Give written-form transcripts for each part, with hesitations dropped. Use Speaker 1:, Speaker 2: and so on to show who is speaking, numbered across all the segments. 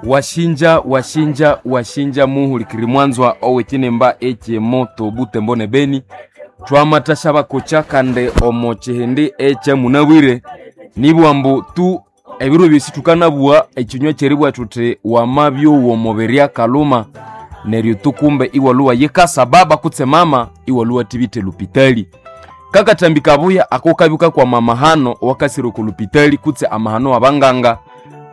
Speaker 1: Washinja washinja washinja muhulikiri mwanzwa owekinimba ekyemoto Butembo ne Beni. Twamathasya bakocha kandi omo kihindi ekyamunabwire nibwambu tu ebiro byosi thukanabugha ekinywa kyeribugha thuthi wamabyowa omubiri akalhuma neryo tu kumbe iwalhuwa yikasa baba kutse mama iwalhuwa thibitha elupitali. Kakathambi kabuya ako kabya kakwama amahano owakasira oko lupitali kutse amahano wabanganga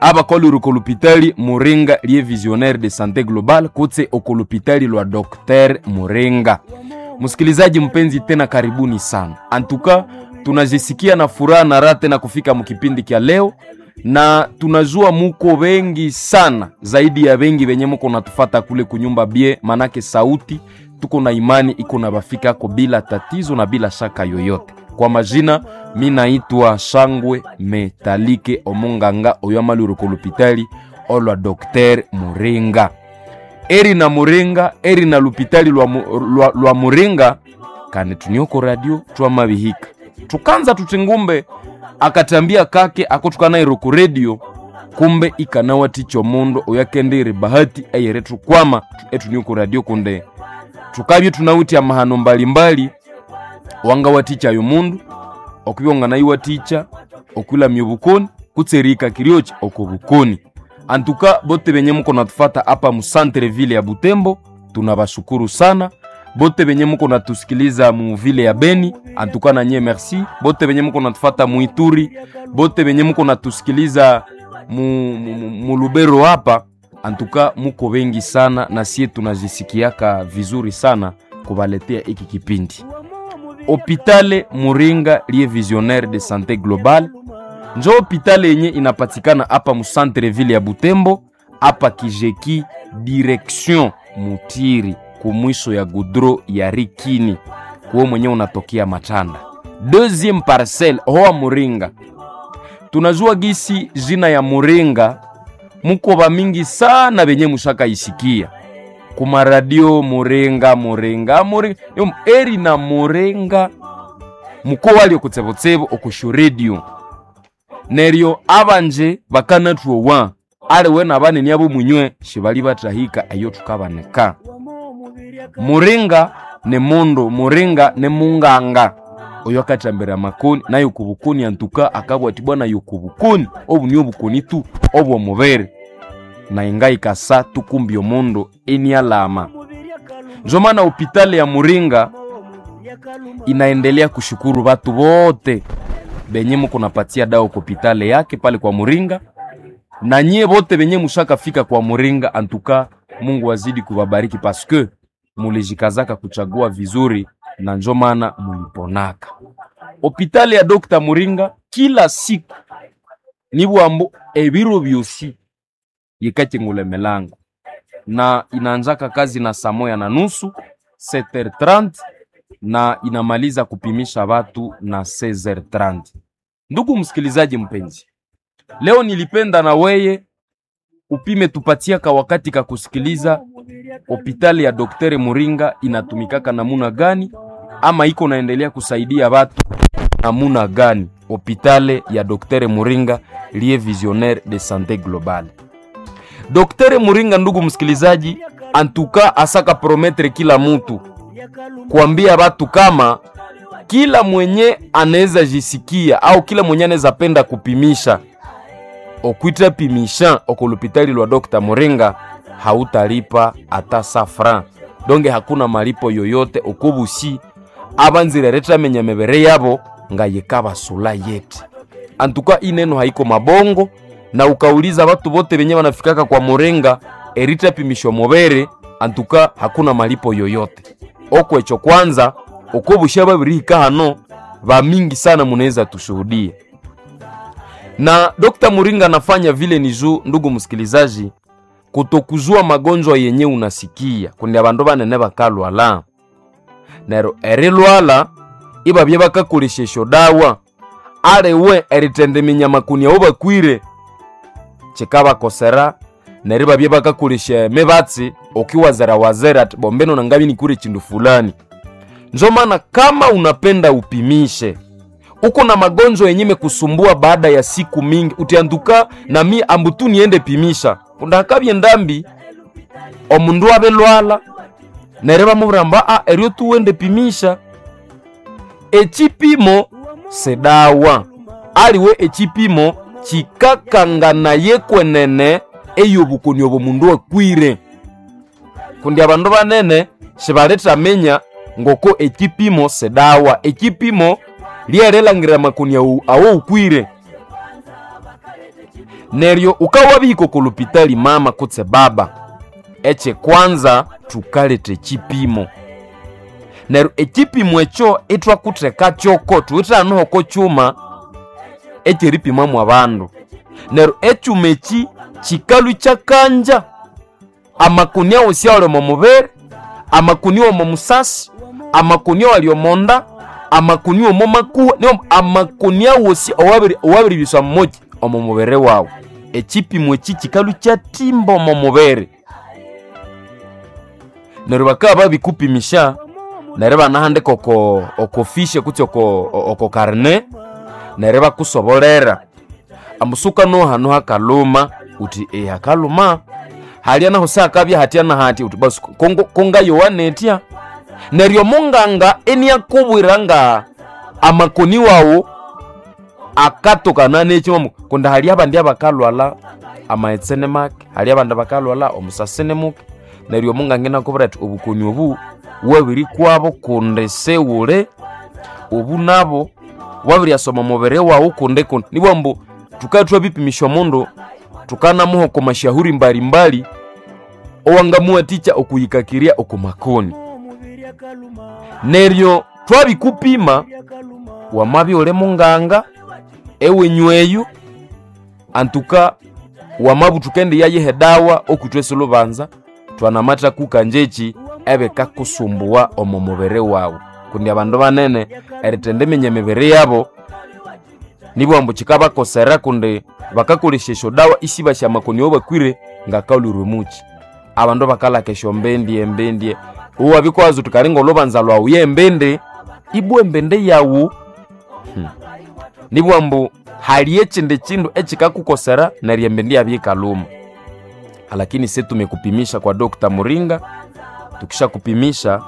Speaker 1: abakolire oko lupitali Muringa lye Visionnaire de Sante Global kutse oko lupitali lwa Dr. Muringa. Msikilizaji mpenzi, tena karibuni sana. Antuka tunajisikia na furaha na raha tena kufika mkipindi kya leo, na tunajua muko wengi sana, zaidi ya wengi wenye muko natufata kule kunyumba bie, manake sauti tuko na imani iko na bafikako bila tatizo na bila shaka yoyote. Kwa majina mi naitwa Shangwe Metalike Omunganga oyo amalwire ko lupitali olwa Dr. Muringa. Eri na Muringa, eri na lupitali lwa Muringa kandi tunioko radio twamabihika tukanza tutingumbe akatambia kake ako tukanairo ku radio kumbe ikanawaticha omundu oyakendere bahati eyere tukwama etunioko radio kunde tukabye tunawithe amahano mbalimbali wangawaticha ayo mundu okubya wanganayiwaticha okwilamya obukoni kutse erihika kiryoki oko bukoni. Antuka bote benye muko natufata apa mu centre ville ya Butembo tunabashukuru sana. Bote benye muko natusikiliza mu ville ya Beni antuka na nye merci. Bote benye muko natufata mu Ituri, bote benye muko natusikiliza mu Lubero hapa antuka muko bengi sana, na sie tunajisikiaka vizuri sana kubaletea iki kipindi. Hopitale Muringa liye Visionnaire de Sante Global njo hopitale yenye inapatikana hapa mu centre ville ya Butembo hapa Kijeki direction Mutiri kumwiso ya gudro ya Rikini kuo mwenye unatokea Matanda deuxième parcelle hoa Muringa. Tunajua gisi jina ya Muringa muko ba mingi sana benye mushaka isikia kumaradio Muringa Muringa Muringa Yo, eri na Muringa muko walio kutsebotsebo okushu radio neryo abanje bakanatwowa aliwe nabanene abo munywe shibali batahika eyo tukabaneka. Muringa ne mundu, Muringa ne munganga oyo akathambira amakoni nayo kubukoni antuka akabwa ati bwana yo kubukoni obu ni obukoni tu obwomubiri na inga ikasa tukumbi omundu enialama. Njo maana hopitali ya Muringa inaendelea kushukuru batu bote benye muko napatia dawa kwa hopitali yake pale kwa Muringa, na nyie bote benye mushaka fika kwa Muringa antuka Mungu azidi kubabariki paske mulijikazaka kuchagua vizuri na njo maana muliponaka. Hopitali ya Dr. Muringa kila siku nibwambo ebiro byosi yikachingula milango na inaanzaka kazi na saa 1:30 7h30 na inamaliza kupimisha watu na 16h30. Ndugu msikilizaji mpenzi, leo nilipenda na weye upime tupatiaka wakati ka kusikiliza hopitali ya Dr. Muringa inatumikaka namuna gani, ama iko naendelea kusaidia watu namuna gani. Hopitali ya Dr. Muringa liye Visionnaire de Sante Globale. Dr. Muringa, ndugu msikilizaji, antuka asaka prometre kila mutu kuambia watu kama kila mwenye anaweza jisikia au kila mwenye anaweza penda kupimisha okwita pimisha okolupitali lwa Dr. Muringa hautalipa ata sa franc donge hakuna malipo yoyote okubusi abanzire retamenya mebere yabo nga yekabasula yete antuka ineno haiko mabongo na ukauliza watu bote benye wanafikaka kwa Muringa erita pimisho mobere antuka hakuna malipo yoyote okwecho kwanza okobusha babirihika hano ba mingi sana munaweza tushuhudie na Dr. Muringa anafanya vile ni juu, ndugu msikilizaji, kutokuzua magonjwa yenye unasikia kundi abandu banene bakalwala nero erilwala ibabye bakakolesha esyo dawa aliwe eritenda eminyama kuni abo bakwire kikabakosera neryo ibabye bakakolesha emibatsi okiwazera-wazera ati bombeno nangabi nikure chindu fulani. Njo maana kama unapenda upimishe, Uko na magonjwa yenye imekusumbua baada ya siku mingi, utianduka nami ambutu niende pimisha kundakabye ndambi omundu abelwala neryo bamubwira mbu a eryo tuwende pimisha. Echipimo sedawa aliwe echipimo chikakanganaye kwenene eyobukoni obo mundu akwire, kundi abandu banene sibalethamenya ngoko echipimo sedawa. Echipimo lyerilangira amakoni awo awo ukwire. Neryo ukawabihika oko lupitali mama kutse baba, ekyekwanza thukaleta echipimo. Neryo echipimo ekyo ithwakutheka kyoko, thuwithe oko kyuma ekyeripimamu abandu. Neryo ekyuma eki kikalhwa ikyakanja amakoni awosi awali omo mubiri, amakoni omo musasi, amakoni awali omo nda, amakoni omo makuha, niyo amakoni awosi owabiribiswa muki omo mubiri wawu. Ekipimo eki kikalhwa ikyathimba omo mubiri. Neryo bakabya babikupimisha neryo ibanahandika oko oko fiche kutse oko oko carnet, neryo ibakusobolera ambu suka hano hakaluma, uthi eeh hakaluma, halya nahu sihakabya hatya na hatya, uthi basi kongayowa nethya. Neryo omunganga iniakubwira nga amakoni wawu akatokana neki kundi hali abandi abakalhwalha amaghetse ni make, hali abandi bakalhwalha omusasi ni muke. Neryo omunganga inakubwira athi obukoni obu wabirikwabo kundi siwuli, obu nabo wabiryasa omo mubiri wawu kundi kundi. Nibugha ambu thukabya thwabipimisya omundu thukanamuha oko mashahuri mbalimbali owangamuwathikya okuyikakirya oko makoni. Neryo twabikupima wamabya iwuli munganga ewenyu eyu antuka wamabya thukendiyayiha edawa okwithwe silhubanza, thwanamathakukanjakyi ebikakusumbuwa omo mubiri wawu. Kundi abandu banene erithendiminya emibiri yabo nibugha ambu kikabakosera kundi bakakolesya esyodawa isibasi amakoni awabakwire ngakalhwire omukyi. Abandu bakalaka esyombindi embindi, iwabya wuthi kali ngolhubanza lwawu yembindi, ibwa embindi yawu nibugha ambu hali ekindi kindu ekikakukosera neryo embindi yabya yikalhuma. Lakini isi tumekupimisha kwa Dr. Muringa, tukishakupimisha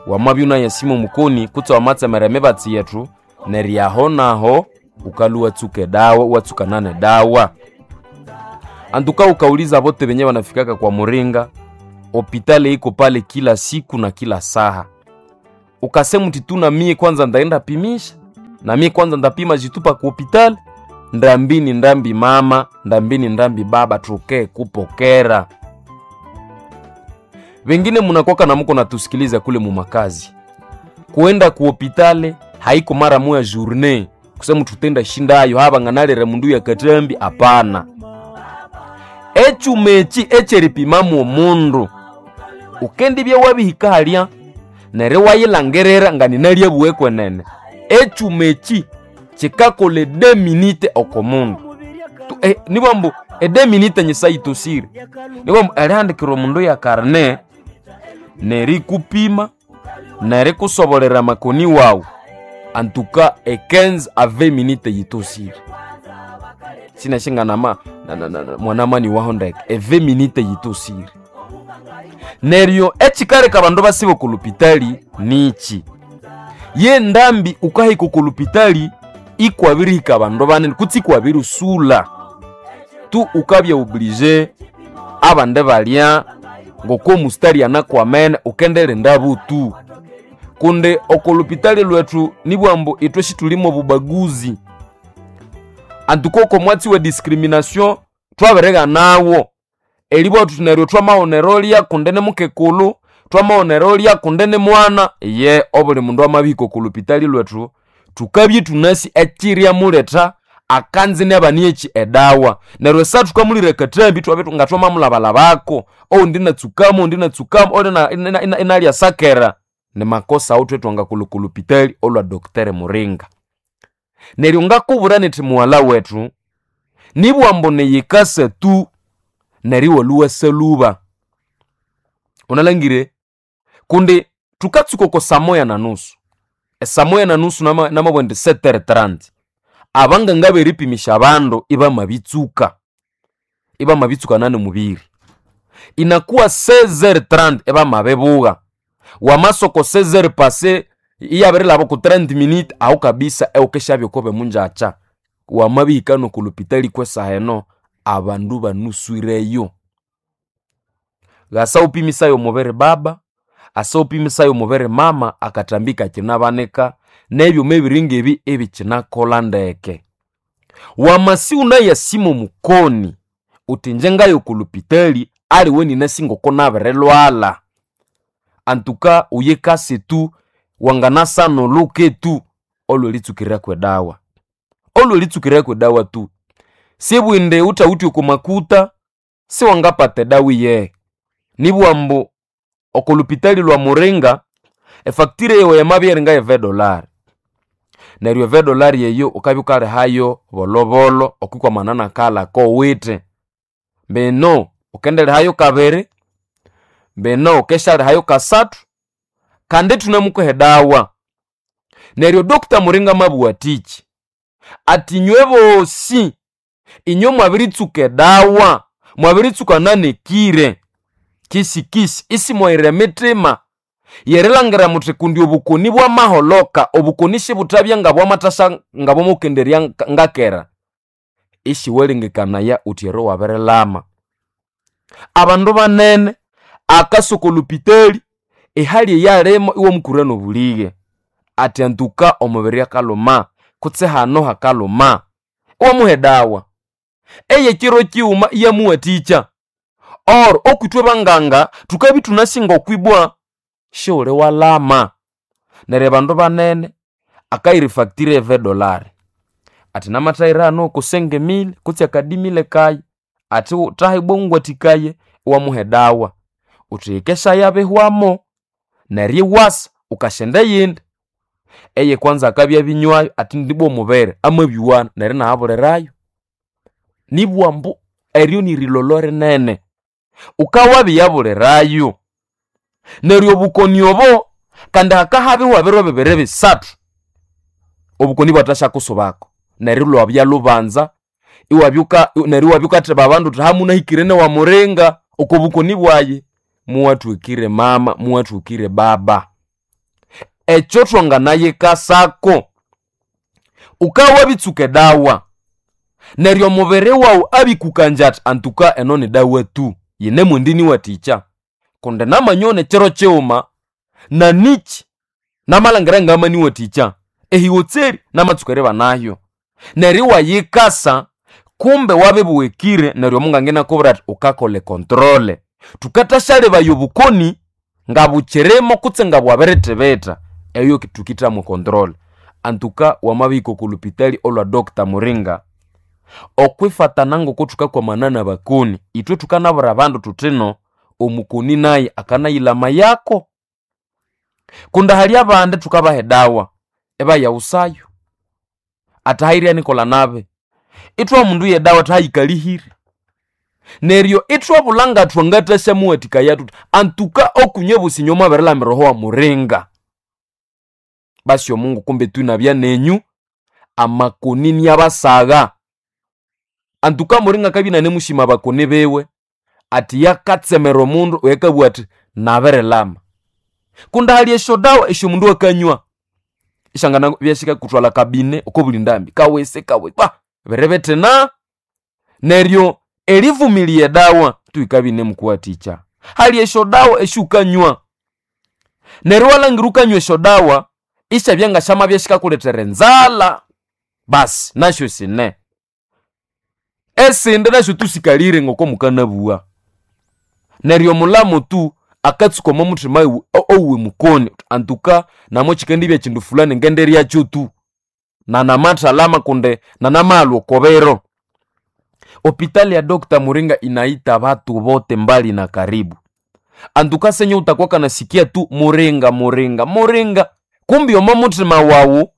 Speaker 1: wamabya iwunayasima omukoni kutse wamatsemera emibatsi yethu, neryo aho naho wukalhwa iwatsuka edawa, iwatsukana nedawa. Antuka wukawuliza abote benye banafikaka kwa Muringa, hopitali iko pale kila siku na kila saha. Ukasema uthi tu namie kwanza ndaenda pimisha, namie kwanza ndapima jitupa ku hopitali, ndambi ni ndambi mama, ndambi ni ndambi baba, tuke kupokera. Wengine munakwaka na muko natusikiliza kule mumakazi, kuenda ku hopitali haiko mara moya journée kusema tutenda shindayo haba nganalere mundu ya katambi, hapana. Ekyuma eki ekyeripimamu omundu ukendibya wabihika halya neryo iwayilangirira nga ninalyabuwe kwenene. Ekyuma eki kikakolha edeminite oko mundu nibugha ambu edeminite nyisayitosire. Nibugha ambu erihandikira omundu ya carnet nerikupima nerikusobolera amakoni wawu antuka e 15 a 20 minute yitosire. Sinashinganama mwanamani waho ndeke e 20 minute yitosire. Neryo ekikaleka abandu basiba oko lupitali niki, ye ndambi ukahika oko lupitali ikwabirihika abandu banene kutse ikwabirisula tu ukabya obligé abandi balya ngoko omustari anakwamene ukendirinda butu. Kundi oko lupitali lwethu nibugha ambu ithwe sithulimo obubaguzi, antuka oko mwatsi we discrimination twabirighanawo eribugha thuthi neryo twamaghunera olya kundi ni mukekulhu, twamaghunera olya kundi ni mwana. Iye obuli mundu amabihika oko lupitali lwethu thukabya ithunasi ekyiryamuletha akanzi nabanieki edawa. Neryo esaha thukamulira akathambi ithwabya nga thwamamulhabalhabako, owundi inatsukamu, owundi inatsukamu, owundi inalya sakera. Ni makosa awuthwe thwangakolha oko lupitali olwa Dr. Muringa. Neryo ngakubwira nithi mughalha wethu, nibugha ambu niyikasa tu neryo iwalhwa iwasalhuba. Wunalangire kundi thukatsuka oko saa moya na nusu. Esaa 1:30 namabugha indi 7:30 abanganga beripimisha abandu ibamabitsuka. Ibamabitsuka nane mubiri. Inakuwa 16:30 ibamabibugha. Wamasoko 16h passé iyabirilhaba oko 30 minutes aho kabisa ewukishabya okobe munjakya. Wamabihika noko lupitali kwesaha eno abandu banuswireyo. Ghasa wupimisaye omubiri baba, asa wupimisaye omubiri mama akathambi kakinabanika n'ebyuma ebiri ngebi ibikyinakolha ndeke. Wamasi wunayasima omukoni wuthi ingye ngaya oko lupitali aliwe inasi ngoko nabirilhwalha. Antuka wuyikase tu wanganasana olhuke tu olhw'eritsukirako edawa. Olhw'eritsukirako edawa tu. Sibwindi wuthawithe oko makuta siwangapata edawa iyehe. Nibugha ambu oko lupitali lwa Muringa efacture yawu yamabya iringa ye $20. Neryo $20 eyo wukabya wukalihayo bolhobolho okwikwamana n'akaghalha akowithe. Mbino wukendilihayo kabiri, mbino wukesyalihayo kasathu, kandi ithunemukuha edawa. Neryo Doctor Muringa amabugha athiki, athi inywe bosi inywe mwabiritsuka edawa, mwabiritsuka nanekire kisikisi isimwayira emitima yerilangira muthi kundi obukoni bwamaholoka, obukoni sibuthabya ngabwamathasya ngabwamukenderya ngakera. Isiwalengekanaya wuthi ero wabirilama. Abandu banene akasa oko lupitali ehali eyalimo iwamukura n'obulighe athi antuka omubiri akalhuma kutse hano hakalhuma, iwamuha edawa. Ey'ekiro kighuma iyamuwathikya. Or okwithwe banganga thukabya ithunasi ng'okwibwa sighuli walama. Neryo abandu banene akayira efacture ye $20 athi namathayira hano oko 5,000 kutse akadimile kayi athi thaha ibwa wungwathikaye iwamuha edawa. Wuthi yikesya bihwamo neryo iwasa wukasyenda eyindi. Eye kwanza akabya abinywayo athi ndibwa omubiri amabyuwana neryo inahabulirayo. Nibugha ambu eryo nirilholho rinene. Wukawabiyabulirayo. Neryo obukoni obo kandi hakahabihwa ebiro bibiri bisathu obukoni ibwathasyakusubako neryo ilwabya lubanza iwabyuka neryo iwabya wukatheba abandu wuthi hamunahikire n'ewa Muringa oko bukoni bwayi. Muwathukire mama, muwathukire baba. Ekyo thwanganayikasako, wukawabitsuka edawa neryo omubiri wawu abikukangya athi antuka eno ni dawa tu yinemwendiniwathikya kundi namanyone ekiro kighuma naniki namalhangira ngamaniwathikya ehiwotseri namatsuka eribanayo. Neryo iwayikasa kumbe wabibughekire neryo omunganga inakubwira athi wukakolha econtrol. Thukathasyalebaya obukoni ngabukyirimo kutse ngabwabirithibitha eyo thukithamu control. Antuka wamabihika oko lupitali olwa Doctor Muringa okwifatana ngoko thukakwamana n'abakoni ithwe thukanabwira abandu thuthino omukoni naye akanayilhamayako. Kundi hali abandi thukabaha edawa ibayaghusayo athi hairya nikolha nabi. Ithwaha omundu yedawa athi hayikalihire. Neryo ithwabulha ngathwangathasyamuwathikaya thuthi antuka okunywe bosi inywe mwabirilhamira oho wa Muringa. Basi omungu kumbe tu inabya nenyu amakoni inabasagha. Antuka Muringa akabya inanemushima abakoni biwe athi yakatsemera omundu oyukabugha athi nabirilhama. Kundi hali esyodawa esyomundu akanywa isyanganabya sikakuthwalha kabine oko buli ndambi kawese kawese ba biribithina. Neryo erivumilia edawa tu yikabya inemukuwathikya. Hali esyodawa esyukanywa neryo iwalhangira wukanywa esyodawa isyabya ngasyamabya sikakulethera enzalha basi nasyo sine. Esindi nasyo tu sikalire ngoko mukanabugha. Neryo omulhamu tu akatsuka omo muthima owuwe mukoni antuka namo kyikendibya kyindu fulani ngendiryakyo tu nanamathalama kundi nanamaghalha oko biro. Hopitali ya Doctor Muringa inaita batu bote mbali na karibu. Antuka senye utakuwa kanasikia tu Muringa Muringa Muringa kumbi omo muthima wawu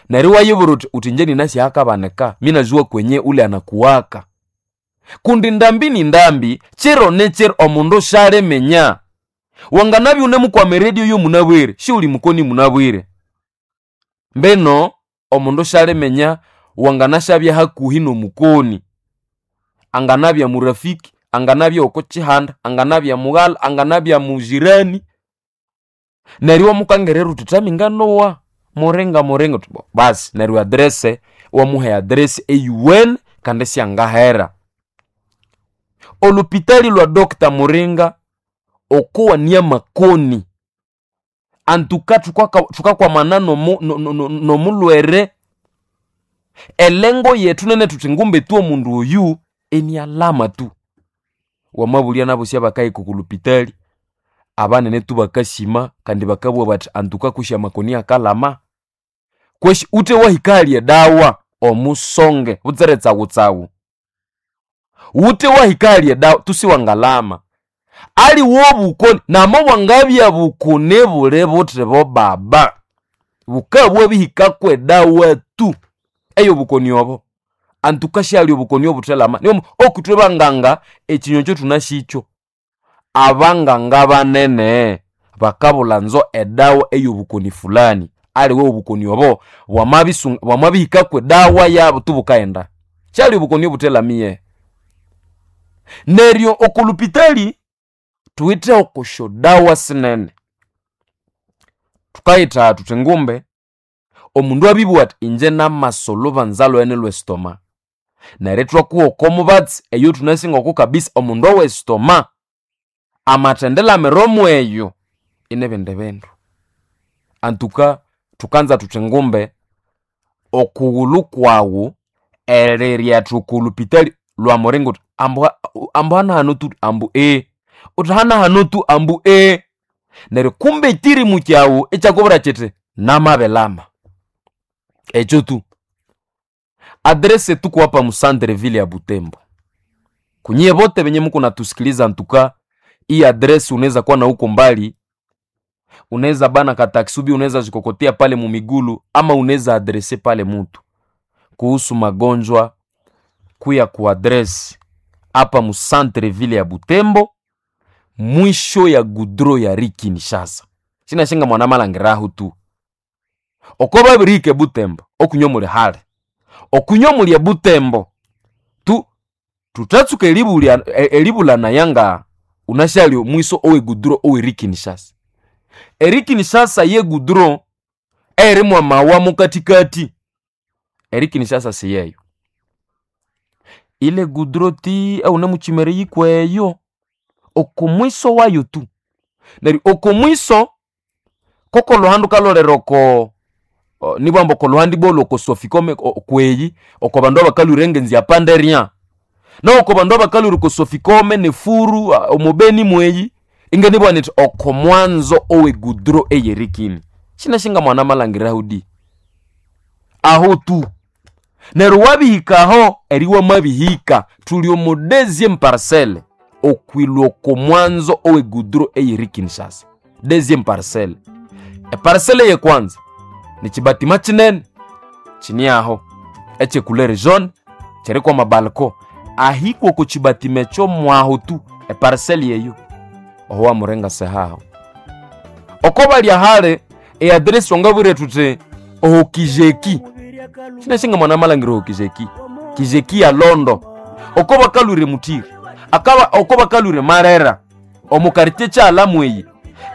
Speaker 1: neryo iwayibwira wuthi wuthi ingye ninasi ahakabanika minazuwa kwenye ule anakuwaka. Kundi ndambi ni ndambi kiro ni kiro omundu syaliminya. Wanganabya wunemukwama eredio yomunabwire siwuli mukoni munabwire. Mbino omundu syaliminya wanganasyabya hakuhi n'omukoni, anganabya murafiki, anganabya oko kihanda, anganabya mughala, anganabya mujirani. Neryo iwamukangirira uthi thaminga nowa muringa muringa, uthi basi neryo address iwamuha eaddress eyuwene kandi isyangahera. Olupitali lwa Dr. Muringa okowania amakoni, antuka thukakwamana n'omulhwere. Elengo yethu nene thuthi ngumbe tu omundu oyu inialama tu. Wamabulya nabosi abakahika oko lupitali, abanene tu bakasima kandi bakabugha bathi antuka kwisi amakoni akalama. Kwesi uthe wahika ahali edawa omusonge butsire tsawutsawu. Wuthe wahika ahali edawa tusiwangalama. Aliwe obukoni namo bwangabya bukoni buli buthi bo baba, bukabya bwabihikako edawa tu ey'obukoni obo. Antuka syali obukoni obuthelama. Niwo okithwe banganga ekinywa ekyo thunasikyo. Abanganga banene bakabulha edawa ey'obukoni fulani. Aliwe obukoni obo bwamabihikako edawa yabo tu bukaghenda. Syali obukoni obuthelamiye. Neryo oko lupitali thuwithe oko syodawa sinene. Thukayitha thuthi ngumbe omundu abibugha athi inje namasa olhubanza lweghene lw'esitoma. Neryo ithwakuha oko mubatsi eyo thunasi ngoko kabisa omundu ow'esitoma amathendilamira omweyo inibindi bindu. Antuka thukanza thuthi ngumbe okughulhu kwawu eriryatha oko lupitali lwa muringa uthi ambu ambu hanahano tu ambu uthi hanahano tu ambu Neryo kumbe ekirimu kyawu ikyakubwira kyithi namabilama. Ekyo tu. Address tuko hapa mu centre ville ya Butembo. Kunyie bote benye muko natusikiliza antuka hii address unaweza kuwa na huko mbali, unaweza bana katakisubi, unaweza jikokotea pale mumigulu ama unaweza adrese pale mutu kuhusu magonjwa kuya kuadresi hapa mu centre ville ya Butembo, mwisho ya gudro ya Kinshasa. Sinashinga mwana malangiraho tu oko babirike Butembo okunywa muli hale okunywa muli e Butembo tu tutatsuka eribulya eribulana yanga unasyali mwiso owe gudro owe Kinshasa. Eri Kinshasa ye gudro erimwa mawa mukatikati. Eri Kinshasa siyeyo. Ile gudro ti aune muchimere yikweyo oko mwiso wayo tu. Neryo oko mwiso koko luhandu kalolera oko nibwamba oko luhandi bwolwo oko sofikome kweyi oko bandu abakalwire engenzi ya panderia. Noko bandu abakalwire oko sofikome nefuru omubeni mweyi ingenibwa nithi oko mwanzo owe gudro eyerikini. Sinashinga mwana malangiraho di. Aho tu. Neryo wabihikaho eri wamabihika thuli omu deuxième parcelle okwilwa oko mwanzo owe gudro eyeri Kinshasa. Deuxième parcelle. Eparcelle yekwanza ni kibatima kinene kini aho ekyecouleur jaune kiriko amabalko ahikwa oko kibatima ekyo mwaho tu eparcelle yeyo oho wamurenga sehaho. Oko balya hale eaddress wangabwire thuthi oho kijeki. Sinashinga mwana malangiro oho kijeki. Kijeki ya Londo. Oko bakalwire Mutiri. Akaba oko bakalwire Marera. Omu quartier kyalamu eyi.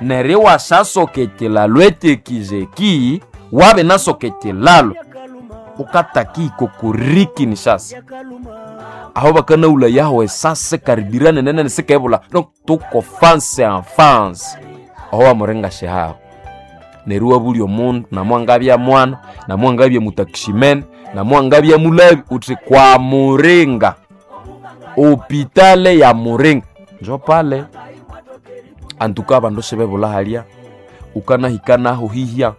Speaker 1: Neryo iwasasoka ekilalo ekyekijeki wabe nasoka ekilalo ukatakiko kuri Kinshasa. Aho bakanawula yaho esase karibirane nene sikebula donc tuko face en face. Aho wamurenga shehaho. Neryo iwabulya omundu namwangabya mwana, namwangabya mutakishimene, namwangabya mulabi uthi kwa Muringa. Hopitale ya Muringa. Njo pale. Antuka abandu sibebulha halya ukanahika naho hihya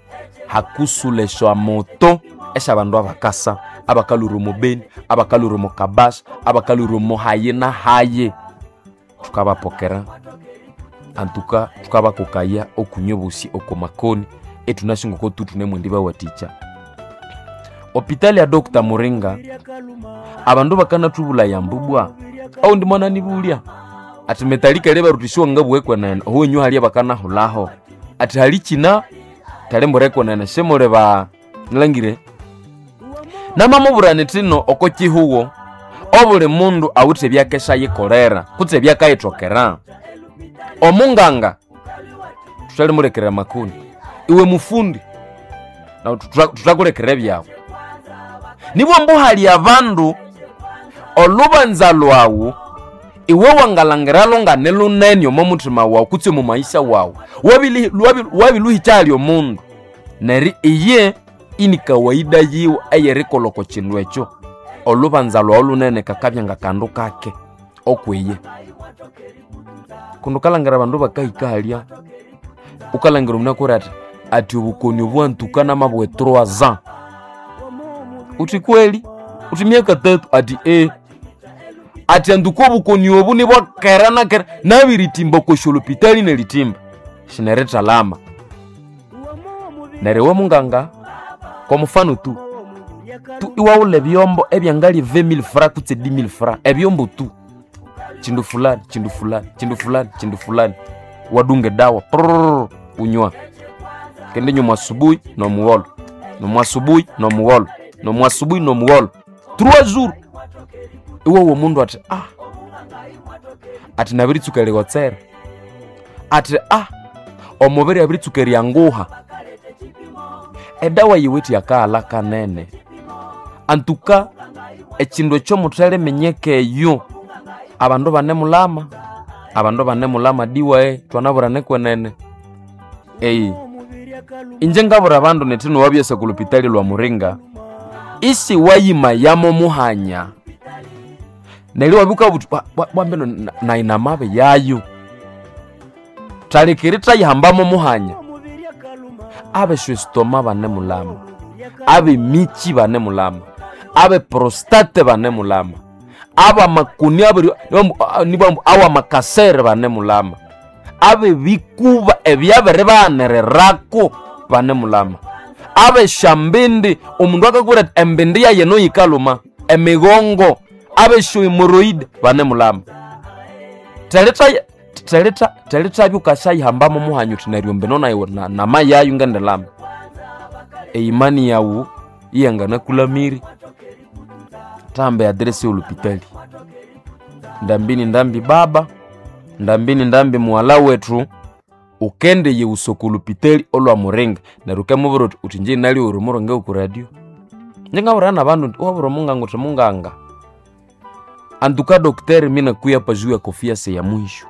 Speaker 1: hakusulesha moto esyabandu abakasa abakalwire omu Beni, abakalwire omu Kabasha, abakalwire omu hayi na hayi. Thukabapokera antuka thukabakokaya okunywa obosi oko makoni ethunasi ngoko tu thunemwendi bawathikya. Hopitali ya Dr. Muringa abandu bakanathubulaya ambu bwa oundi mwananibulya athi metalika lyebaruthi siwangabugha kwenene oho enywe halya bakanahulhaho athi hali kina thali mbure kwenene simuli ba Nilangire namamubwira nithino oko kihugo obuli mundu awithe ebyakesha yikolera kutse ebyakayithokera. Omunganga thuthalimulekera amakoni, iwe mufundi nawu thuthakulekera ebyawu. Nibwa ambu hali abandu olubanza lwawu iwe wangalangiralo ngane lunene omo muthima wawu kutse omo maisha wawu, wabiluhikya hali omundu neryo iye ini kawaida yiwe eyerikolha oko kindu ekyo. Olubanza lwawu lunene kakabya ngakandu kake okwiye. Kundi wukalhangira abandu bakahika halya, wukalhangira omundu akabwira athi, athi obukoni obu wantuka namabugha e trois ans. Wuthi kweli? Wuthi myaka tatu? Athi athi antuka obukoni obu nibwakera nakera nabiritimba okwa syolopitali neritimba shinerithalama. Neryo iwe munganga kwa mufano tu, tu iwaghulha ebyombo ebyangalya 20000 francs kutse 10000 francs, ebyombo tu, kindu fulani kindu fulani kindu fulani kindu fulani, wadunga edawa prrrr unywa kendi nywa asubuhi nomugholo nomwasubuhi nomugholo nomwasubuhi nomugholo 3 jours. Iwowa omundu athi ah, athi nabiritsuka erighotsera, athi ah, omubiri abiritsuka eryanguha. Edawa yiwithe yakaghalha kanene. Antuka ekindu ekyo muthaliminyeka eyo, abandu banemulama, abandu banemulama diwae thwanabwira kwenene. Inje ngabwira abandu nithi nowabyasa oku lupitali lwa Muringa, isi wayimayamo muhanya neryo iwabya wukabugha wuthi bwambino nayi namabi yayo, thalikiri thayihambamo muhanya. Abeshwesitoma banemulama, abemikyi banemulama, abeprostate banemulama, abamakoni abiri nibambu awamakasere banemulama, abebikuba ebyabiribaghaniriraku banemulama, abesyambindi omundu akakubwira athi embindi yayi eno yikalhuma, emigongo, abesyohemoroid banemulama. Thelithabya wukasyayihambamo muhanya wuthi neryo mbino nayi namayayu ngendilama. Eimani yawu iyanganakulamire. Thahamba eaddress eyolhupitali, ndambi ni ndambi baba, ndambi ni ndambi mughalha wethu, wukendiyighusa oko lupitali olwa Muringa neryo wukemubwira wuthi, wuthi inje nalyowa omurungi woku radio. Inje ngabwira nabandu indi iwabwira omunganga wuthi munganga antuka docteur minakuya hapa juu ya kofia ya mwisho.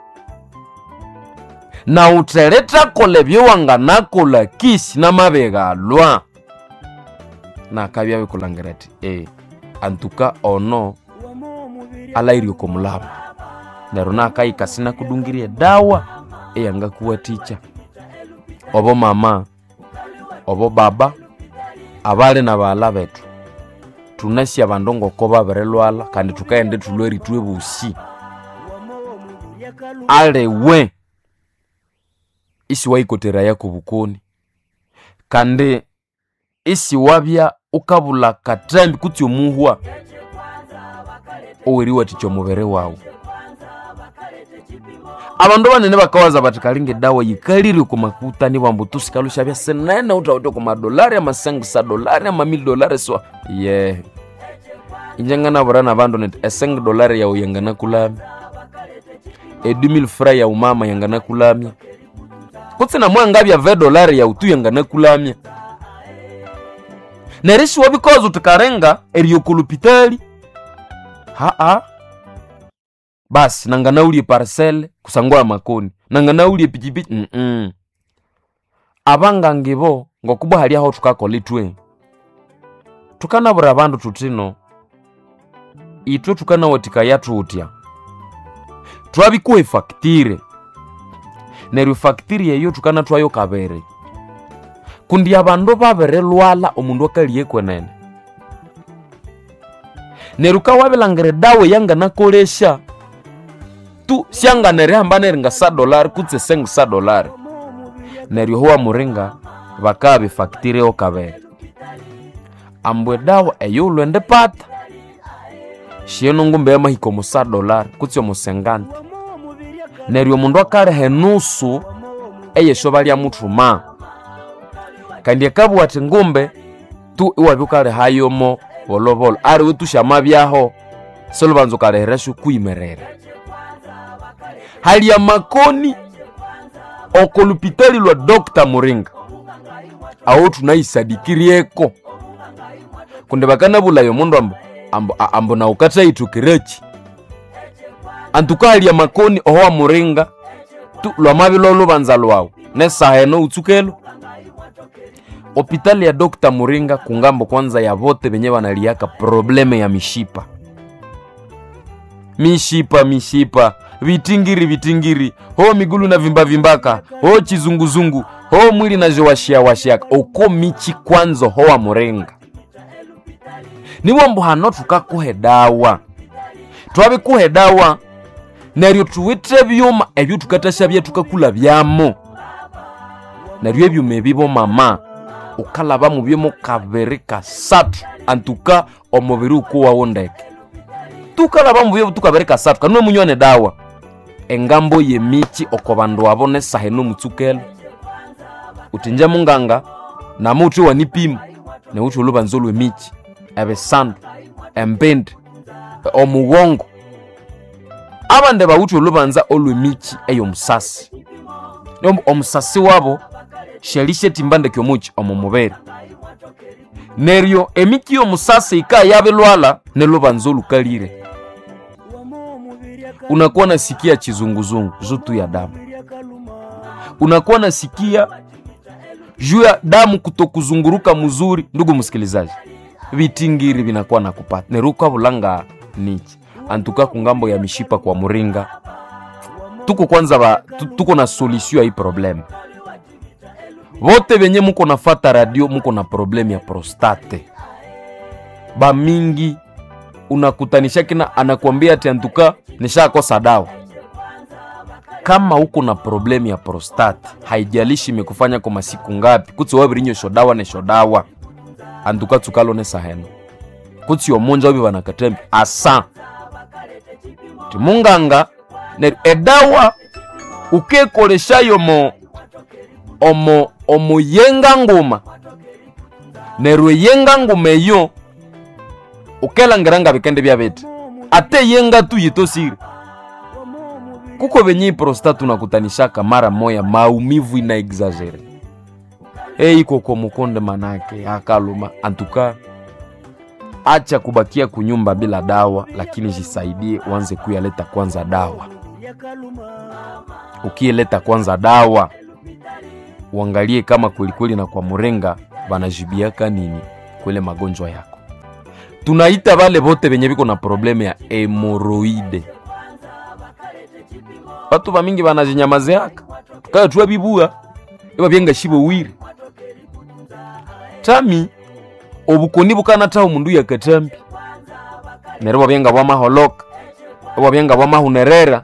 Speaker 1: Nawu thelithakolha ebyowanganakolha kisi namabighalwa. Nakabya abikulhangira athi antuka ono alhaghire oko mulama. Neryo nakahika sinakudungirye edawa eyangakuwathikya. Obo mama, obo baba, abali nabaghalha bethu, thunasi abandu ngoko babirilhwalha kandi thukaghenda ithulhwere ithwe bosi. Aliwe isiwayikoteraya kobukoni kandi isiwabya wukabulha akathambi kutse omuhwa oweriwathikya omubiri wawu. Abandu banene bakawaza bathi kalinga edawa yikalire oko makuta nibwambu tu sikalhwa isyabya sinene wuthawithe oko madolari ama 5 dolari ama 1000 dolari swa yehe. Inje nganabwira nabandu nithi e 5 dolari yawu yanganakulamya, e 2000 francs yawu mama yanganakulamya, kutse namwangabya 20 dolari yawu tu yanganakulamya. Neryo isiwabikoza wuthi kalinga eriya oko lupitali, ha'a basi nanganawulya eparcel kusangwa amakoni, nanganawulya epikipiki. Abanganga ibo ngokubwa hali aho thukakolha ithwe, thukanabwira abandu thuthino ithwe thukanawathikaya thuthya, thwabikuha efactire neryo efactire eyo thukanathwayo kabiri kundi abandu babirilhwalha omundu akaligha kwenene. Neryo wukawabirilangira edawa eyanganakolesya tu syangana erihamba neringa sa dolari kutse 5 dolari. Neryo oho wamuringa bakabya efactire yo kabiri. Ambu edawa eyiwulhwendipata shino ngumbe yamahika omo sa dolari kutse omo 50. Neryo omundu akaliha enusu eyesyoba lyamuthuma. Kandi akabugha athi ngumbe Tu iwabya ukalihayomo bolobolo aliwe tushamabyaho silubanza ukalihirasyo kwimerera. Hali amakoni oko lupitali lwa Dr. Muringa aho tunaisadikirieko kundi bakanabulaya omundu ambu, ambu, ambu naukathaithukireki antuka hali amakoni oho wa Muringa tu lwamabya olubanza lwawu nesaha eno utsukelo hopitali ya Dr. Muringa kungambo kwanza ya bote benye banaliaka probleme ya mishipa mishipa mishipa vitingiri vitingiri ho migulu na vimba vimbaka ho chizunguzungu ho mwili na jowashia washiaka oko michi kwanza ho wa Muringa niwo mbu hano tukakuhe dawa twabikuhe dawa neryo tuwithe byuma ebyo tukatashabya tukakula byamo neryo ebyuma ebibo mama ukalaba mubyomo kabiri kasathu antuka omubiri ukuwawo ndeke tukalaba mubyo tukabiri kasathu kanwe munywa ne dawa engambo yemichi oko bandu abo nesaha eno mutsukelo utinje munganga nama uthi wanipima neuthi olubanza olwemichi ebisandu embindi omugongo abandi bawuthi olubanza olwemichi eyomusasi omusasi wabo shalishetimba ndeke omuchi omu mubiri neryo emiki yomusasi ika yabilwala nelubanza olukalire unakuwa nasikia chizunguzungu zutu ya damu unakuwa nasikia juu ya damu kutokuzunguruka mzuri. Ndugu msikilizaji, vitingiri vinakuwa nakupata neruka bulanga nichi antuka kungambo ya mishipa kwa Muringa tuko kwanza ba, tuko na solution ya hii problem. Vote venye muko nafata radio muko na problem ya prostate ba mingi, unakutanisha kina anakuambia ati antuka nishakosa dawa. Kama uko na problem ya prostate, haijalishi imekufanya kwa masiku ngapi, kutsi wabirinyo dawa nesho dawa antuka tsukalo nesaheno kutsi omunja wabi banakatembi asa timunganga neryo edawa ukekoleshayo mo omo omuyenga nguma neryo eyenga nguma eyo ukelangira nga bikende byabete ate yenga tu yitosire kuko benye prostate unakutanishaka mara moya maumivu ina exagere ei koko mukonde manake akaluma antuka acha kubakia kunyumba bila dawa, lakini jisaidie uanze kuyaleta kwanza dawa. Ukiyeleta kwanza dawa uangalie kama kwelikweli na kwa Murenga banajibiaka nini kwele magonjwa yako. Tunaita bale bote benye biko na probleme ya hemoroide. Batu bamingi banajinyamazeaka tukaya tuwa bibua iba byenga shibo wiri tami obukoni bukanathaho omundu yakatambi neryo bwabyenga bwamaholoka bwabyenga bwamahunerera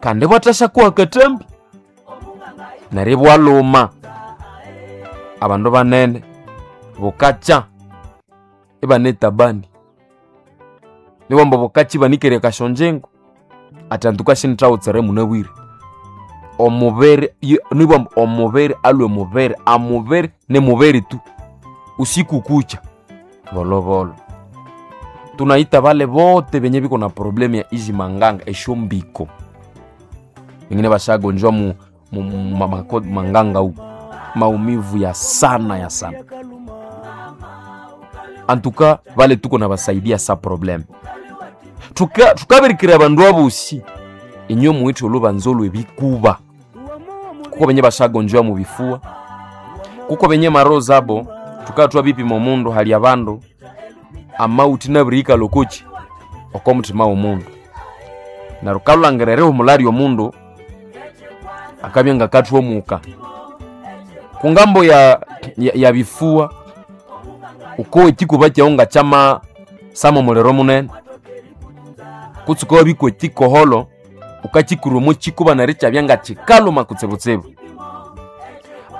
Speaker 1: kandi bwathashakuha katambi neryo ibwaluma abandu banene bukakya ibanetabani niwamba bukakya ibanikere kashonjengo atanduka shinithawutsere munabwire omubere niwamba omubere alwe mubere amubere ne mubere tu usiku kucha volovolo tunaita vale vote venye viko na problemu ya izi manganga eshombiko wengine vashagonjwa mu, mu, mu, ma, mako- manganga huku maumivu ya sana ya sana antuka vale tuko na basaidia sa probleme tukabirikira bandu abosi inyo muwithe olubanza olwebikuba kuko benye bashagonjwa mu bifua kuko benye maro zabo tukatwa bipima omundu hali abandu amauti nabirihika lokochi oko muthima womundu neryo kalhulangira erihumula lyomundu akabya ngakathwa omuka kungambo ya bifua ukowa ekikuba kyawu nga kyama sama omuliro munene kutse ukawabikwa ekikoholo ukakikurwa omo kikuba neryo ikyabya nga kikaluma kutsibutsibu.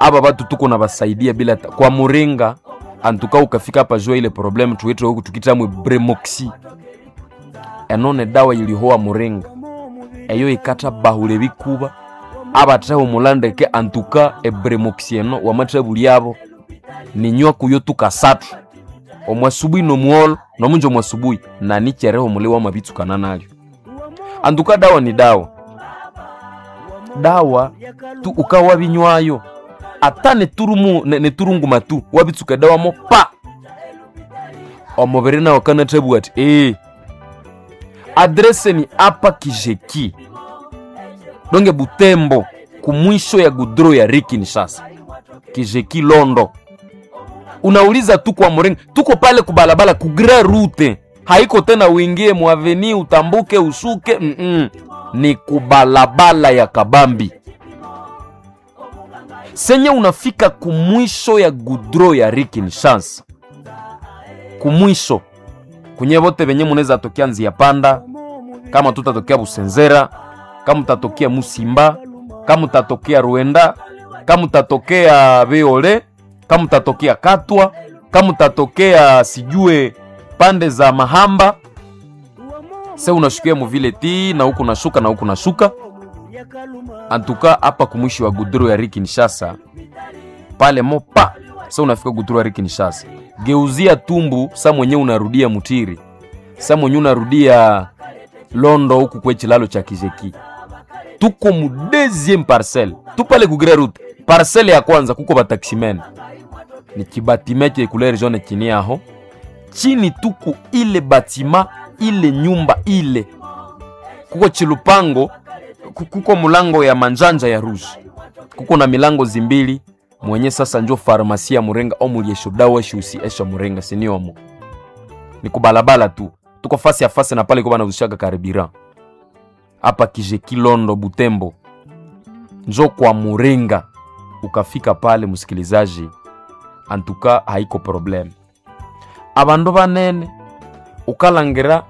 Speaker 1: Aba batu tuko na basaidia bila ta, kwa muringa antuka ukafika hapa jua ile problem tuwete huku tukitamwe bremoxi enone dawa ilihowa muringa eyo ikatha bahula ebikuba abatheho mulandeke antuka ebremoxi eno wamathabuli abo. Ninywa kuyo tukasathu omwasubuhi nomugholo nomunja omwasubuhi na nichereho muli wamabitsukana nalyo. Anduka dawa ni dawa, dawa tu ukawa binywayo ata neturumu neturunguma tu wabitsuka dawa mo pa omubiri nawo kanathabugha ati ee adrese ni apa Kijeki donge Butembo kumwisho ya gudro ya Kinshasa Kijeki Londo. Unauliza tu kwa Muringa, tuko pale kubalabala ku grand route, haiko tena uingie muaveni utambuke ushuke Ni kubalabala ya Kabambi senye unafika kumwisho ya gudro ya Kinshasa, kumwisho kunye vote venye munaweza tokea nzia panda, kama tutatokea Busenzera, kama utatokea Musimba, kama utatokea Ruenda, kama utatokea Beole, kama utatokea Katwa, kama utatokea sijue pande za Mahamba, se unashukia muvile ti na huku nashuka na huku nashuka. Antuka hapa kumwishi wa gudro ya Kinshasa pale mopa, se unafika gudro ya Kinshasa, geuzia tumbu sa mwenye unarudia Mutiri, sa mwenye unarudia Londo huku kwe chilalo cha Kijeki. Tuko mu deuxième parcelle, tu pale ku grand route. Parcelle ya kwanza kuko bataximen, ni kibatime che couleur jaune chini aho chini tuku ile batima ile nyumba ile kuko chilupango kuko mulango ya manjanja ya rouge, kuko na milango zimbili mwenye sasa njo farmasi ya Murenga omuliesho dawa shusi esha Murenga siniomo ni kubalabala tu, tuko fasi ya fasi na pale kwa banaushaka karibira hapa Kijeki Londo Butembo, njo kwa Murenga. Ukafika pale msikilizaji, antuka haiko problem. Abandu banene ukalangira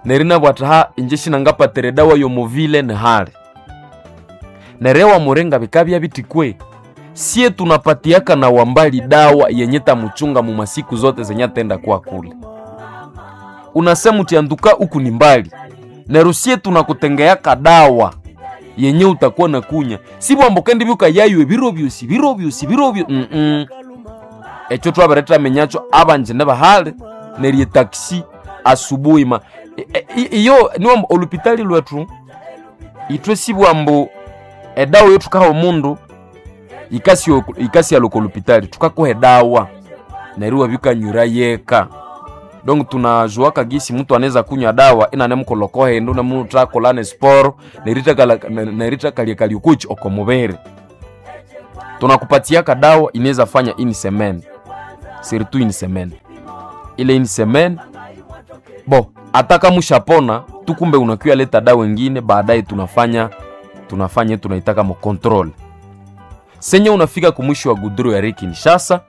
Speaker 1: nerina bwataha inje shinangapatere dawa yomovile nehale nerewa Murenga bikabya bitikwe sie tunapatiaka na wambali dawa yenye tamuchunga mu masiku zote zenye atenda kwa kule. Unasema utianduka huku ni mbali nerusie tunakutengeaka dawa yenye utakuwa na kunya sibwambo kendi byuka yaywe biro byosi biro byosi biro byo Echo twabareta menyacho abanje ne bahale nerye taxi asubuhi ma iyo niwambo olupitali lwetu itwe sibwambo edawa yo tukaha omundu ikasi ikasi aloko olupitali tukakuha edawa neriwa bikanyura yeka donc tunajuaka gisi mtu anaweza kunywa dawa ina nemukolokohe ndo namutakolane sport nerita kalia kaliukuchi okomubere tunakupatiaka dawa inaweza fanya ini semaine surtout une semaine ile une semaine bo ataka mushapona tukumbe unakuya leta dawa ingine baadaye tunafanya tunaitaka mo control senye unafika kumwisho wa gudro ya Kinshasa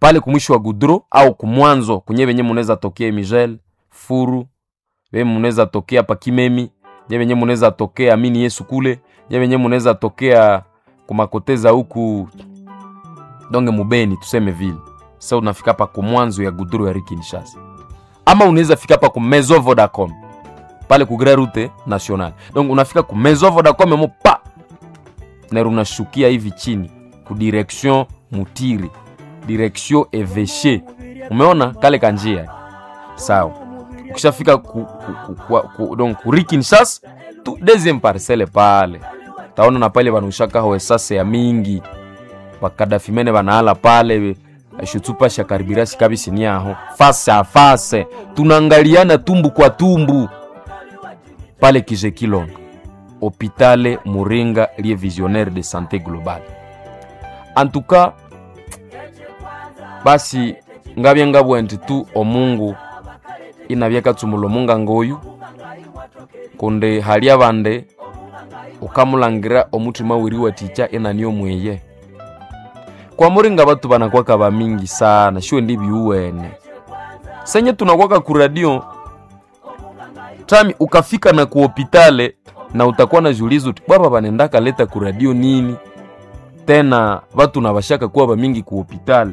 Speaker 1: pale kumwisho wa gudro au kumwanzo kunye benye munaweza tokea Migel Furu be munaweza tokea pakimemi nye benye munaweza tokea amini Yesu kule nye benye munaweza tokea kumakoteza huku donge mubeni tuseme vile. Sasa unafika pa kumwanzo ya gudro ya Kinshasa, ama unaweza fika pa ku Maison Vodacom pale ku Grand Route Nationale. Donc unafika ku Maison Vodacom mo pa na unashukia hivi chini ku direction Mutiri, direction Evêché. Umeona kale kanjia sawa. Ukishafika donc ku Kinshasa tu deuxième parcelle pale taona na pale banushaka ho esase ya mingi bakadafimene banaala pale shutsupa sha karibirasi kabisi ni aho face a face tunaangaliana tumbu kwa tumbu pale Kijekilon Hôpital Muringa liye visionnaire de santé globale. En tout cas basi ngabye ngabwe nti tu omungu inabyakatsumula omunga ngoyu kundi hali abande ukamulangira omutima wiri waticha enani omweye kwa muringa batu banakwaka bamingi sana shiwe ndi biuwene senye tunakwaka ku radio tami ukafika na kuhopitale na utakuwa na julizo uti baba banendaka leta ku radio nini tena batu na bashaka kuwa bamingi ku hopitale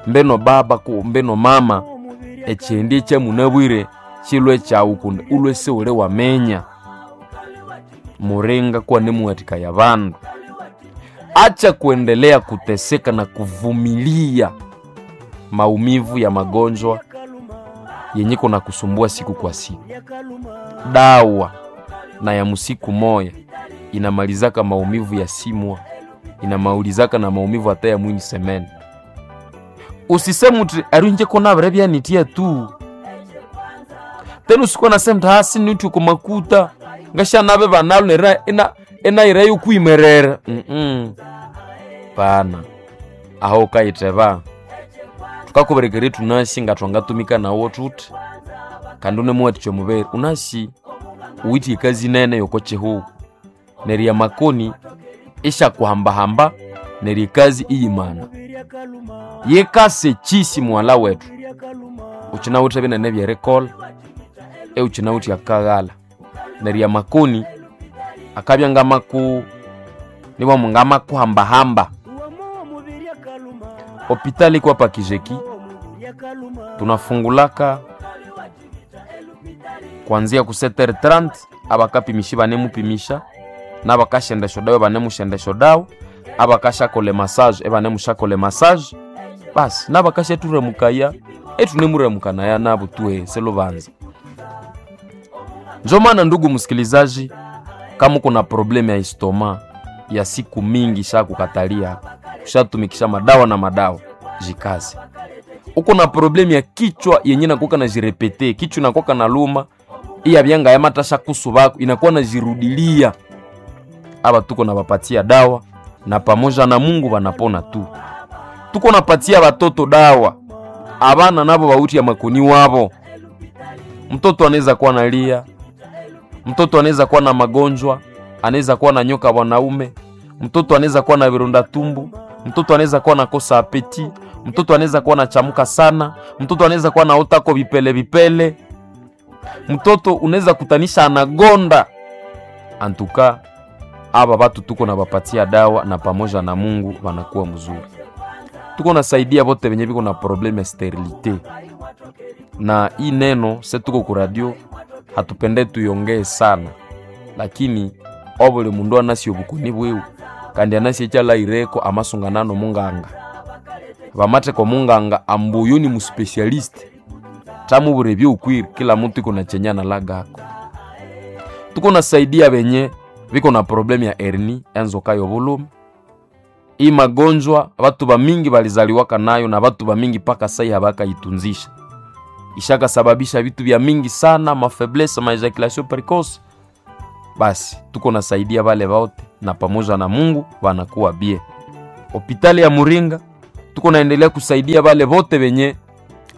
Speaker 1: mbeno baba ku mbeno mama echendi echemunabwire chilwe chawu kundi ulwe seule wamenya muringa kuwa nemuwatika ya bandu. Acha kuendelea kuteseka na kuvumilia maumivu ya magonjwa yenye kona kusumbua siku kwa siku. Dawa na ya musiku moya inamalizaka maumivu ya simwa, inamaulizaka na maumivu hata ya mwini semene. Usiseme uti arunje kona byanitia tu tena, usikuwa nasema mti hasi niuti kumakuta ngasha nabe banalo nera ina enairayo kuimerera Pana aho ukaiteba tukakuberekera tunasi nga twangatumika nawo tuti kandi unemuwatikya omubere unasi uwithe ekazi nene yoko kihugho neryo amakoni isyakuhambahamba neryo ekazi iyimana yikasa ekisi mughalha wethu. Ukinawithe binene ebyerikolha, iwukinawithe akaghalha neryo amakoni akabya ngamaku nibwamu ngamakuhambahamba. Hopitali iko hapa Kijeki, tunafungulaka kuanzia ku 7h30 abakapimisha banemupimisha nabakashendesha esyodawa banemushenda esyodawa, abakashakola emassage ibanemushakola emassage, basi nabakashathuramukaya itunemuramukania nabo tuhe selubanza. Njo maana ndugu msikilizaji, kama kuna problemu ya istoma ya siku mingi shakukatalia ushatumikisha madawa na madawa, jikaze. Uko na problemu ya kichwa yenye nakuwa na jirepete, kichwa inakuwa na luma iya byanga ya matasha kusubako inakuwa na jirudilia. Aba tuko na bapatia dawa na pamoja na Mungu banapona tu. Tuko napatia batoto dawa, abana nabo bauti ya makoni wabo. Mtoto anaweza kuwa nalia, mtoto anaweza kuwa na magonjwa, anaweza kuwa na nyoka wanaume, mtoto anaweza kuwa na vironda tumbu, mtoto anaweza kuwa na kosa apeti, mtoto anaweza kuwa na chamuka sana, mtoto anaweza kuwa na otako vipele vipele, mtoto unaweza kutanisha anagonda. Antuka aba batu tuko na bapatia dawa na pamoja na Mungu wanakuwa mzuri. Tuko nasaidia bote benye biko na probleme ya sterilite, na hii neno se tuko ku radio hatupende tuyongee sana, lakini obuli mundu anasi obukoni bwiwe kandi anasi ekyalaireko amasunganano munganga bamatheko munganga ambuyu ni muspecialist tamubura ebyoukwire kila mutu iko na chenye analagako. Tuko nasaidia benye biko na problemu ya hernie enzoka yobulumi. Hii magonjwa batu bamingi balizaliwaka nayo na batu bamingi paka sai habakaitunzisha, ishakasababisha vitu vya mingi sana, mafaiblesse, maejaculation precoce. Basi tuko nasaidia vale vote na pamoja na Mungu wanakuwa bie. Hopitali ya Muringa tuko naendelea kusaidia vale vote venye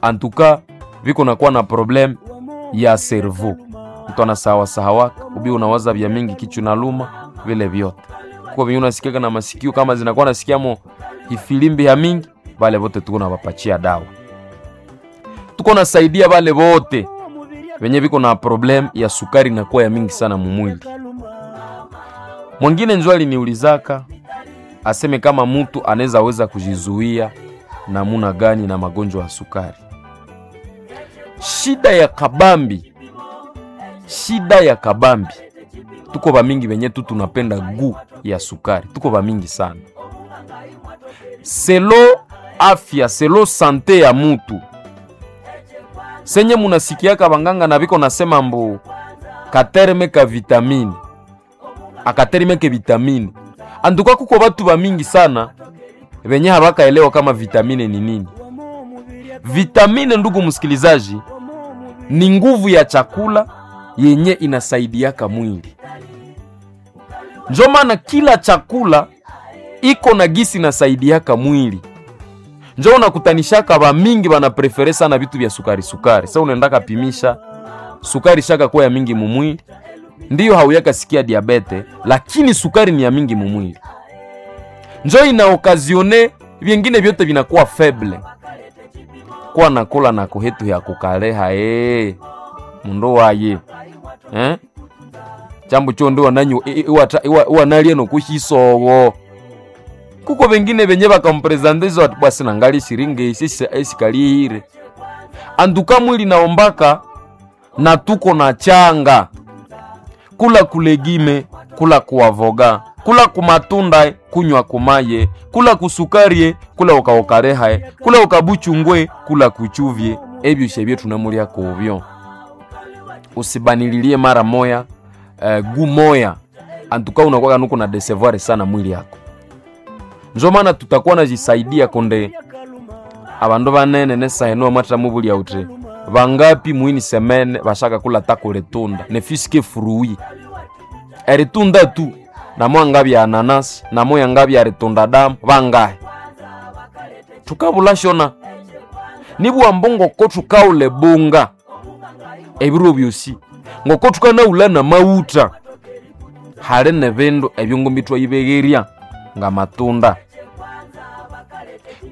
Speaker 1: antuka viko nakuwa na problem ya cerveau, mtu anasawa sahawaka ubi unawaza vya mingi kichwa na luma vile vyote kuko venye unasikiaka na masikio kama zinakuwa nasikiamo ifilimbi ya mingi, vale vote tuko na wapachia dawa. Tuko nasaidia vale vote venye viko na problem ya sukari inakuwa ya mingi sana mumwili. Mwingine njo aliniulizaka aseme kama mutu anaweza weza kujizuia namuna gani na magonjwa ya sukari. Shida ya kabambi, shida ya kabambi, tuko bamingi venye tu tunapenda gu ya sukari, tuko bamingi sana. Selo afya, selo sante ya mutu senye munasikiaka banganga na biko nasema mbu katerme ka vitamine akaterme ke vitamine anduka, kuko batu bamingi sana benye habakaelewa kama vitamine ni nini. Vitamine, ndugu msikilizaji, ni nguvu ya chakula yenye inasaidiaka mwili. Njo maana kila chakula iko na gisi inasaidiaka mwili. Njo unakutanishaka ba mingi bana prefere sana vitu vya sukari sukari. Sasa unaendaka pimisha sukari shaka kuwa ya mingi mumwili, ndiyo hauyaka sikia diabete, lakini sukari ni ya mingi mumwili, njo ina okazione vyengine vyote vinakuwa faible. Kwa nakula na kuhetu ya kukaleha mundu waye eh? Chambu cho ndo wananyu iwanalie nokushisowo kuko vengine venye vakamprezanteza wati bwasi nangali shiringi isi esikalihire anduka mwili naombaka na tuko na changa kula kulegime kula kuavoga Kula kumatunda, kunywa kumaye, kula kusukarie, kula ukaokarehae, kula ukabuchungwe, kula kuchuvye, ebyo shebye tunamulya kubyo. Usibanililie mara moya gu moya antuka unakuwa nuko na desevoir sana mwili yako. Njo maana tutakuwa najisaidia konde abandu banene nesaheno mwatra mubulya uti bangapi mwini semene bashaka kula takuletunda nefiske fruit eritunda tu namo angabya ananasi namo yangabya ritunda damu bangahe tukabula shona nibwa ngoko tukaule bunga ebiro byosi ngoko tukanaula na mauta hali nebindu ebyongombi twayibegherya nga matunda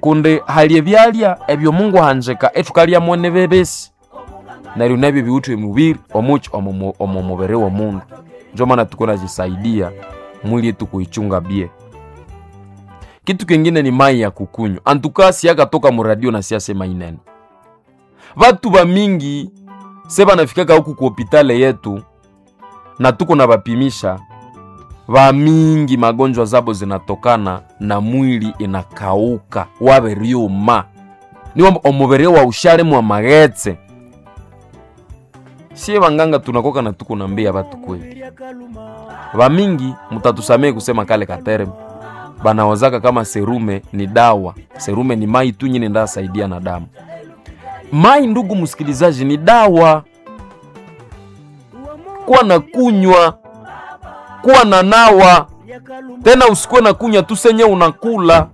Speaker 1: kundi hali ebyalya ebyo Mungu ahanjika ethukalyamo nibibisi neryo nabyo biwithe emubiri omuki omo mubiri w'omundu. Njo maana tukunajisaidia mwili yetu kuichunga bie. Kitu kingine ni mai ya kukunywa antuka siyakatoka muradio na siyasema inene vatu va mingi se vanafikaka huku ku hopitale yetu na tuko na vapimisha vamingi magonjwa zabo zinatokana na mwili inakauka waveriuma niwamba omubiri wa ushalemu maghetse. Sie vanganga tunakoka na tuko nambia vatu kweli vamingi mutatusamee kusema kale katereme banawazaka kama serume ni dawa. Serume ni mai tu nyine ndasaidia na damu. Mai, ndugu msikilizaji, ni dawa. Kuwa na kunywa, kuwa na nawa tena, usikuwe na kunywa tu senye unakula,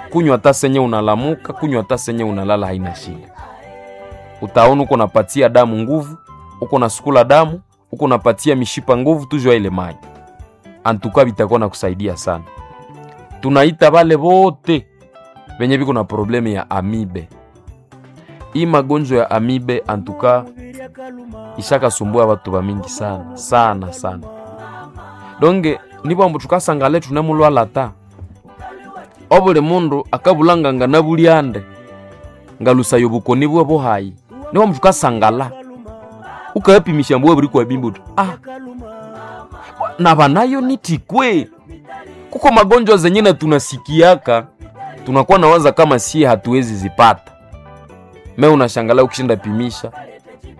Speaker 1: kunywa hata senye unalamuka, kunywa hata senye unalala, haina shida. Utaona uko napatia damu nguvu, uko nasukula damu, uko napatia mishipa nguvu, tujua ile mai antuka bitakuwa na kusaidia sana. Tunaita bale bote benye biko na probleme ya amibe. Hii magonjwa ya amibe antuka ishakasumbua watu ba mingi sana sana sana. Donge nibwambu tukasangale tunemulwala ta obuli mundu akabulanganga nabulyande ngalusayo bukoni bwe buhayi nibwambu tukasangala ukayapimisha mbwe buri kwa bimbu ah na banayo nitikwe kuko magonjwa zenye na tunasikiaka tunakuwa nawaza kama sie hatuwezi zipata. Me unashangala ukishinda pimisha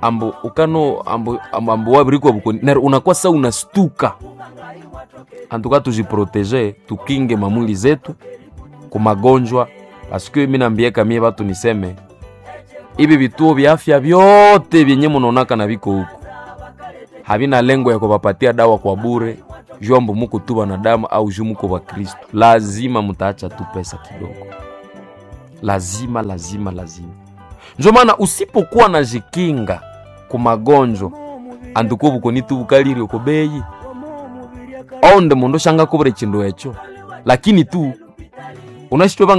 Speaker 1: ambo ukano ambo ambo, ambo wabirikwa bukoni na unakuwa sa unastuka. Antuka tujiprotege tukinge mamwili zetu ku magonjwa paske mimi nambieka mie batu niseme ibi vituo vya afya vyote vyenye munaonaka na viko huku havina lengo ya kuwapatia dawa kwa bure juu ambo muko tu wanadamu au juu muko wa Kristo. Lazima mutaacha tu pesa kidogo, lazima lazima lazima. Njo maana usipokuwa na jikinga ku magonjwa anduko bukoni tu bukalire uko beyi onde mundu shanga kubura chindu echo, lakini tu unashitwe.